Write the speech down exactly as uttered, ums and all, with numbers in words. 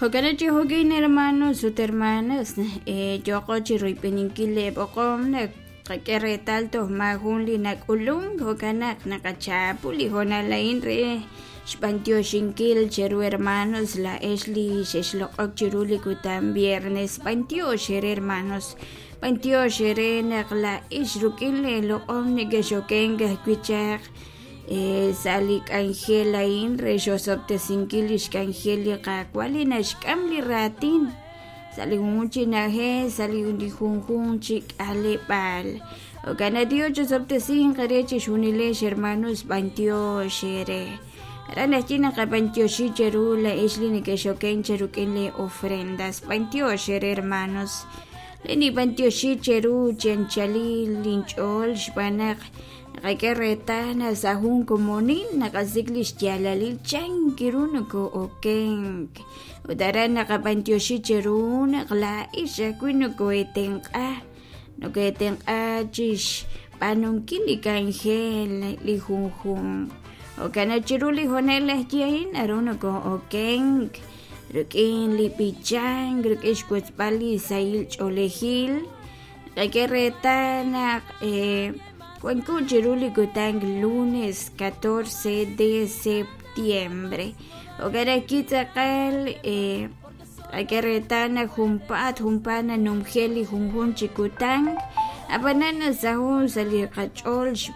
Jo'kan chi jo'kin hermanos ut hermanas yooqo chi royb'eninkil li b'oqom naq qak'e reetal toj maajun li nak'ulunk jo'kan naq naqachapu li hoonal a'in re xb'antioxinkil cheru hermanos laa'ex li xexloq'ok chiru li kutan viernes b'antiox eere hermanos b'antiox eere naq laa'ex rik'in leeloq'om nekexokenk ajwi' chaq sa' li k'anjel a'in re xosob'tesinkil li xk'anjel li Qaawa' li naxk'am li raatin sa' li junjun chi na'ajej sa' li junjun chi k'aleb'aal jo'kan naq Dios chosob'tesinq eere chixjunilex hermanos b'antiox eere aran ajwi' naqab'antioxi cheru laa'ex li nekexokenk cheruk'in li ofrendas b'antiox eere hermanos li nib'antioxi cheru chi anchalil linch'ool xb'aan naq naqak'e reetal naq sa' jun komonil naqasik' li xyaalalil chan ru nokoo'okenk ut aran naqab'antioxi cheru naq laa'ex ajwi' nokoeetenq'a nokoeetenq'a chixb'aanunkil li k'anjel li junjunq jo'kan naq chiru li hoonal ajwi' a'in naru nokoo'okenk rik'in li b'ichank rik'in xwotzb'al li sahil ch'oolejil naqak'e reetal naq wanko chiru li kutan lunes catorce de septiembre jo'kan ajwi' tz'aqal naqak'e reetal naq junpaat junpaat nanumje li junjun chi kutan ab'anan nasaho' sa' li qach'ool